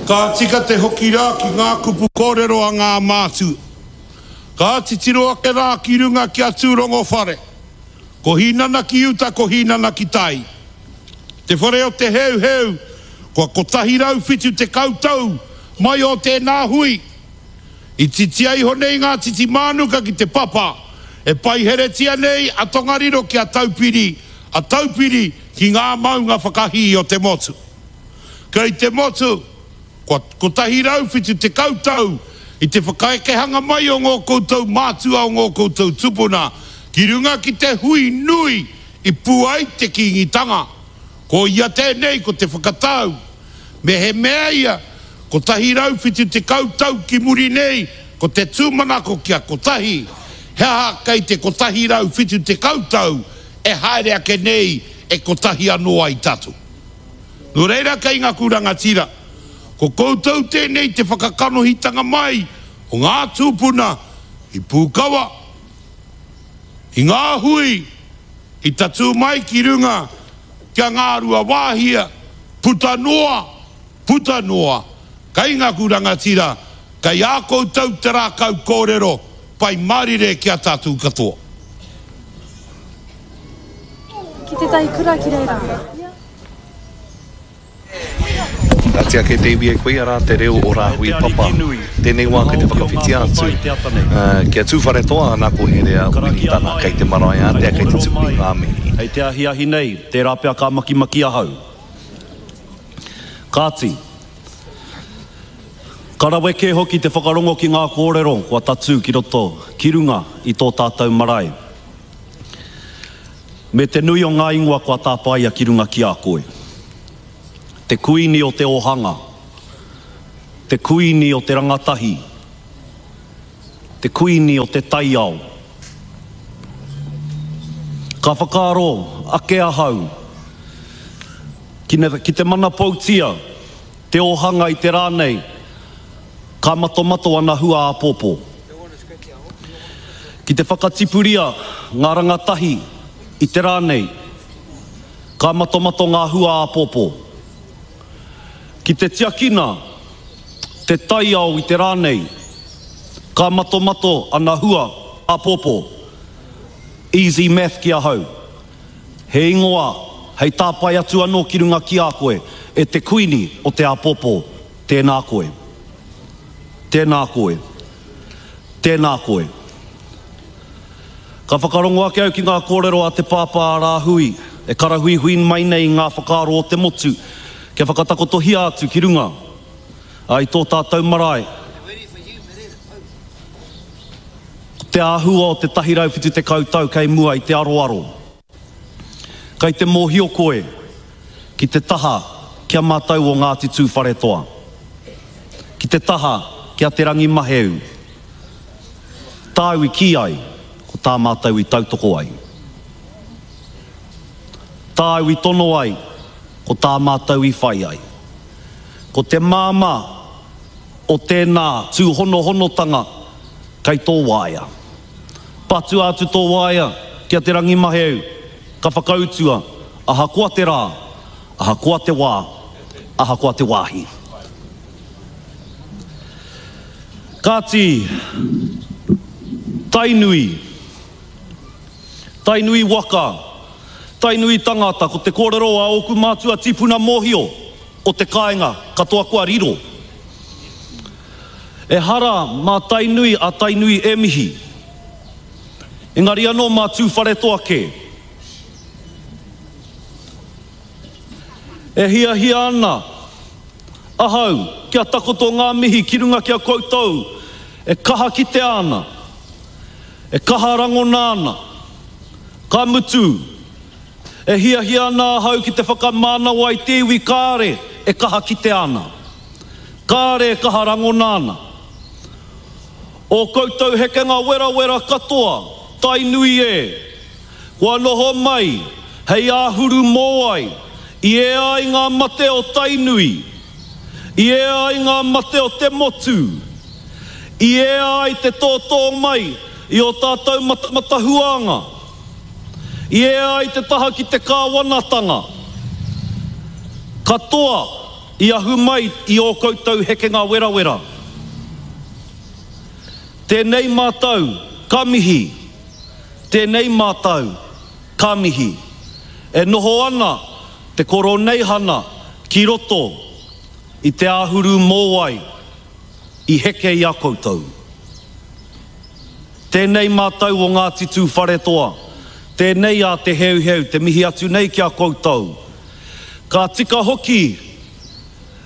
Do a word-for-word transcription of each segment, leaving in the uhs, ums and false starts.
Ka tika te hoki rā ki ngā kupu kōrero a ngā mātua. Ka titiro ake rā ki runga ki a Tūrongo whare. Ko Hīnana ki uta, ko Hīnana ki tai. Te whare o te Heuheu, kua kotahi rau whitu tekau tau mai o tēnā hui. I titia iho nei ngā titi mānuka ki te papa, e paiheretia nei a Tongariro ki a Taupiri, a Taupiri ki ngā maunga whakahī o te motu. Kei te motu, kua kotahi rau whitu tekau tau i te whakaekehanga mai o ngō koutou mātua o ngō koutou tupuna ki runga ki te hui nui i pū ai te Kīngitanga. Ko ia tēnei ko te whakatau. Me he mea ia, kotahi rau whitu tekau tau ki muri nei ko te tūmanako kia kotahi, he aha kei te kotahi rau whitu tekau tau e haere ake nei e kotahi anō ai tātou. Nō reira kei ngaku rangatira, ko koutou tēnei te whakakanohitanga mai o ngā tūpuna i Pūkawa, i ngā hui, i tatū mai ki runga kia Ngāruawāhia, puta noa, puta noa, kei ngaku rangatira, kei a koutou te rākau kōrero, pai mārire ki a tātou katoa. Ki tētahi kura ki reira. Kāti ake te iwi e koia rā te reo o Rāhui Papa. Tēnei wā kei te whakawhiti atu kia Tūwharetoa ana ko Herea Winitana kei te marae ātea kei te tuku i ngā mihi. Hei te ahiahi nei, tērā pea ka makimaki ahau. Kāti, ka rawe kē hoki te whakarongo ki ngā kōrero kua tatū ki roto, ki runga i tō tātou marae. Me te nui o ngā ingoa kua tāpaia ki runga ki a koe. Te kuini o te ōhanga, te kuini o te rangatahi, te kuini o te taiao. Ka whakaaro ake ahau ki, ne, ki te mana poutia, te ōhanga i te rā nei, ka matomato ana hua āpōpō. Ki te whakatipuria ngā rangatahi i te rā nei, ka matomato ngā hua āpōpō. Ki te tiakina te taiao i te rā nei, ka matomato ana hua āpōpō. Easy math ki ahau. He ingoa hei tāpae atu anō ki runga ki a koe, e te kuini o te āpōpō, tēnā koe. Tēnā koe. Tēnā koe. Ka whakarongo ake au ki ngā kōrero a te pāpā a Rāhui, e karahuihui mai nei i ngā whakaaro o te motu, kia whakatakotohia atu ki runga ai tō tātou marae. Ko te āhua o te tahi rau whitu tekau tau kei mua i te aroaro. Kei te mōhio koe ki te taha kia mātou o Ngāti Tūwharetoa, ki te taha kia Te Rangi Maheu, tāu i kī ai, ko tā mātou i tautoko ai. Tāu i tono ai, ko tā mātou i whai ai. Ko te māmā o tēnā tūhonohonotanga kei tō waea. Patua atu tō waea ki a Te Rangi Maheu, ka whakautua, ahakoa te rā, ahakoa te wā, ahakoa te wāhi. Kāti, Tainui, Tainui waka, Tainui tangata, ko te kōrero a ōku mātua tīpuna mōhio o te kāinga katoa kua riro. Ehara mā Tainui a Tainui e mihi, engari anō mā Tūwharetoa kē. E hiahia ana ahau kia takoto ngā mihi ki runga ki a koutou e kaha kitea ana, e kaha rangona ana, ka mutu, e hiahia ana ahau ki te whakamānawa i te iwi kāre e kaha kitea ana, kāre e kaha rangona ana. O koutou hekenga werawera katoa, Tainui e, kua noho mai hei āhuru mōai, i ea ai ngā mate o Tainui, i ea ai ngā mate o te motu, i ea ai te tōtō mai i o tātou matahuanga, i ea ai te taha ki te kāwanatanga. Katoa i ahu mai i ō koutou hekenga werawera. Tēnei mātou ka mihi, tēnei mātou ka mihi. E noho ana te Koroneihana ki roto i te āhuru mōwai i heke i a koutou. Tēnei mātou o Ngāti Tūwharetoa, tēnei a Te Heuheu te mihi atu nei ki a koutou. Ka tika hoki,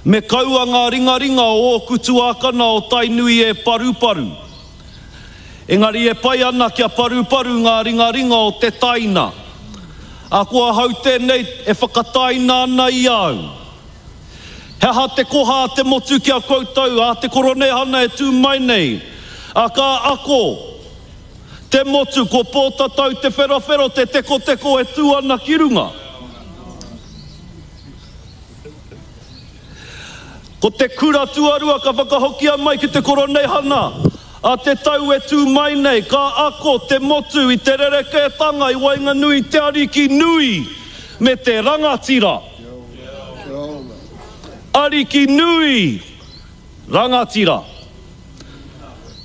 me kaua ngā ringaringa o ōku tuākana o Tainui e paruparu. Engari e pai ana kia paruparu ngā ringaringa o te taina. Ā, ko ahau tēnei e whakataina ana i a au. He aha te koha a te motu ki a koutou, a te Koroneihana e tū mai nei? Ā, ka ako te motu ko Pōtatau Te Wherowhero te tekoteko e tū ana ki runga. Ko te kura tuarua ka whakahokia mai ki te Koroneihana a te tau e tū mai nei, ka ako te motu i te rerekētanga i waenganui i te ariki nui me te rangatira. Ariki nui, rangatira.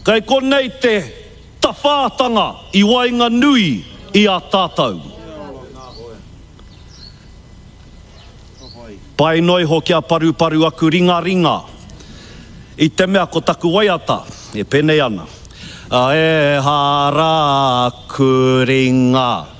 Kei konei te tawhātanga i waenganui i a tātou. Pai noa iho kia paruparu aku ringaringa i te mea ko taku waiata e penei ana. Ehara aku ringa.